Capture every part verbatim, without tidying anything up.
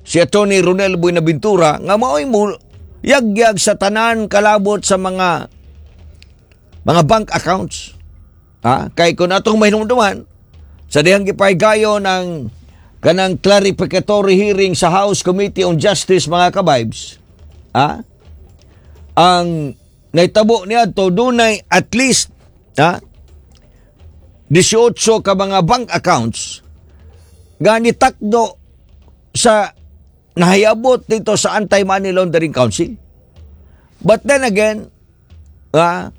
Si Attorney Ronel Buenaventura nga mao'y mo yagyag sa tanan kalabot sa mga mga bank accounts. Ha? Kay kung atong mahinumduman, sa dihang gipahigayon ang kanang clarificatory hearing sa House Committee on Justice, mga kabibes, ha? Ang naitabo niadto, dunay at least, ha, eighteen ka mga bank accounts nga nitakdo sa nahayabot dito sa Anti-Money Laundering Council. But then again, ah,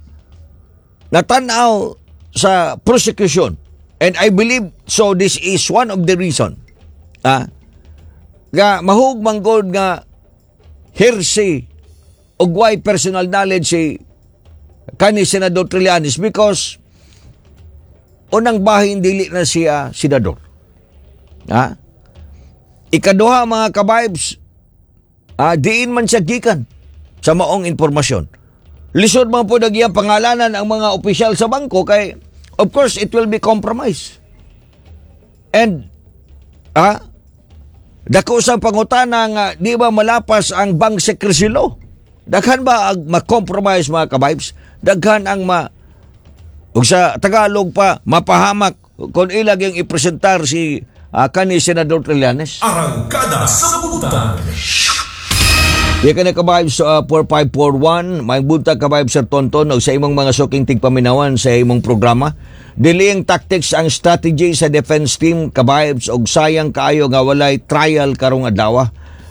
natanaw sa prosecution, and I believe so, this is one of the reason, ah, nga mahug manggod nga hearsay og way personal knowledge si kani Senador Trillanes because unang bahin, dili na siya senador. Ha? Ikaduha, mga kabibes, ah, diin man siya gikan sa maong impormasyon. Lisod man po iyang pangalanan ang mga opisyal sa bangko kay of course it will be compromised. And ah, dako sa pangutana nga di ba malapas ang bank secrecy law? Daghan ba ang ma-compromise, mga kabibes? Daghan ang ma ug sa Tagalog pa, mapahamak kung ilag yung ipresentar si uh, kani Senador Trillanes. Arangkada sa Butang. Di ka na, kabibes, uh, four five four one. May buntag, kabibes Sir Tonton, og sa imong mga suking tigpaminawan sa imong programa. Delaying tactics ang strategy sa defense team, kabibes, og sayang kaayo nga walay trial karong adlaw.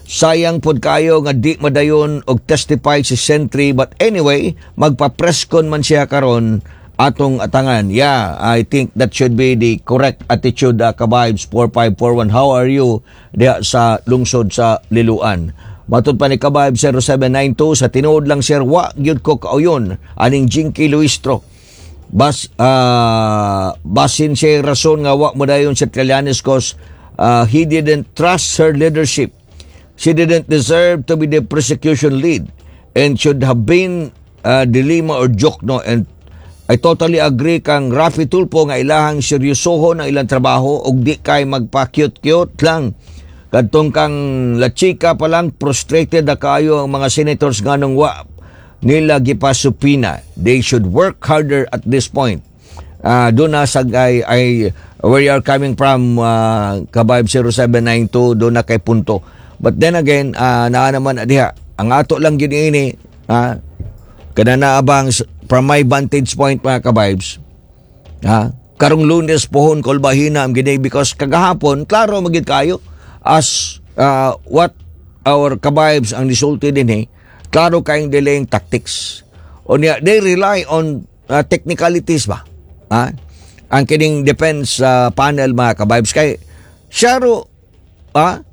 Sayang pod kaayo nga di madayon og testify si Sentry, but anyway, magpa-presscon man siya karon, atong atangan. Yeah, I think that should be the correct attitude, uh, kabibes four five four one. How are you diha sa lungsod sa Liloan? Matod pa ni Kabayb zero seven nine two, sa tinuod lang, sir, wa gyud ko kauyon aning Jinky Luistro. Bas ah, basin siya rason nga wa mo dayon si Trillanes cause ah, he didn't trust her leadership. She didn't deserve to be the prosecution lead and should have been uh, De Lima or Diokno. And I totally agree kang Raffy Tulfo nga ilahang seryosohon ang ilang trabaho ug di kay magpa-cute-cute lang. Kadtong kang La Chica pa lang, frustrated na kayo ang mga senators nganong wa nila gipa-subpoena. They should work harder at this point. Ah, doon na sa ay, ay where you are coming from, uh, Kabayb zero seven nine two, doon na kay punto. But then again, uh, naa naman diha ang ato lang gid ini, ah, kada naabang from my vantage point, mga kabibes, ha, karong Lunes pohon kolbahina ang gini because kagahapon klaro magid kayo as uh, what our kabibes ang nisulti din eh, klaro kayong delaying tactics. Unya they rely on uh, technicalities ba, ha, ang kining defense uh, panel, mga kabibes, kay syaro, ha,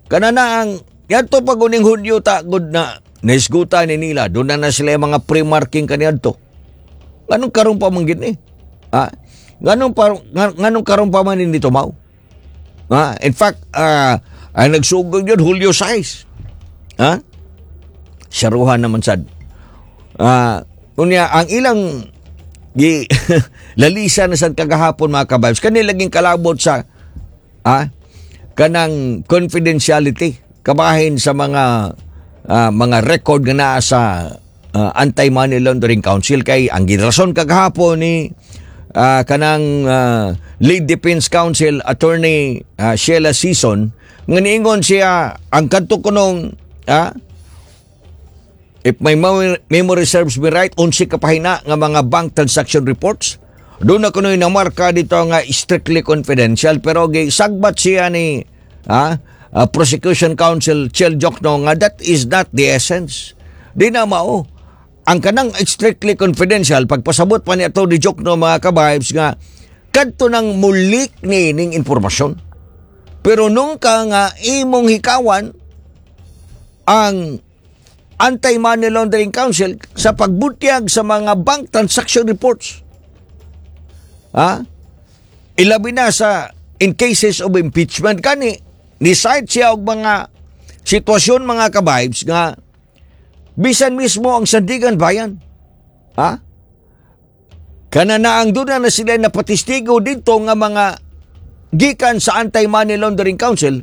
kana na ang yadto pag uning Hunyo ta gud na naisguta ni nila, doon na na sila yung mga pre-marking kaniadto. Nganong karon pa man gid ni, ha? Nganong pa nganong karon pa man hindi tumaw, ha? In fact, ah, ang nagsugod yun Hulyo six, ha? Saruhan naman sad. Ah, unya ang ilang gi lalisa na sad kagahapon, mga kabibes, kanila laging kalabot sa, ah, kanang confidentiality kabahin sa mga ah, mga record nga naa sa ah, Anti-Money Laundering Council, kay ang girason kagahapon ni ah, kanang ah, lead defense counsel, Attorney ah, Sheila Sison, nga niingon siya ang kadto kunong, ah, if my memory, memory serves me right, unsi ka pahina nga mga bank transaction reports. Doon na kuno'y namarka dito nga strictly confidential, pero sagbat siya ni ah, ah, prosecution counsel Chel Diokno nga that is not the essence. Di na mao. Ang kanang strictly confidential, pagpasabot pa ni Atty. Diokno, mga kabibes, nga kadto nang mulik ni ning impormasyon. Pero nung ka nga imong hikawan ang Anti-Money Laundering Council sa pagbutyag sa mga bank transaction reports. Ha? Ilabi na sa in cases of impeachment, kani ni cite siya og mga sitwasyon, mga kabibes, nga bisan mismo ang Sandiganbayan. Ha? Kana na ang doon na sila napatistigo dito nga mga gikan sa Anti-Money Laundering Council.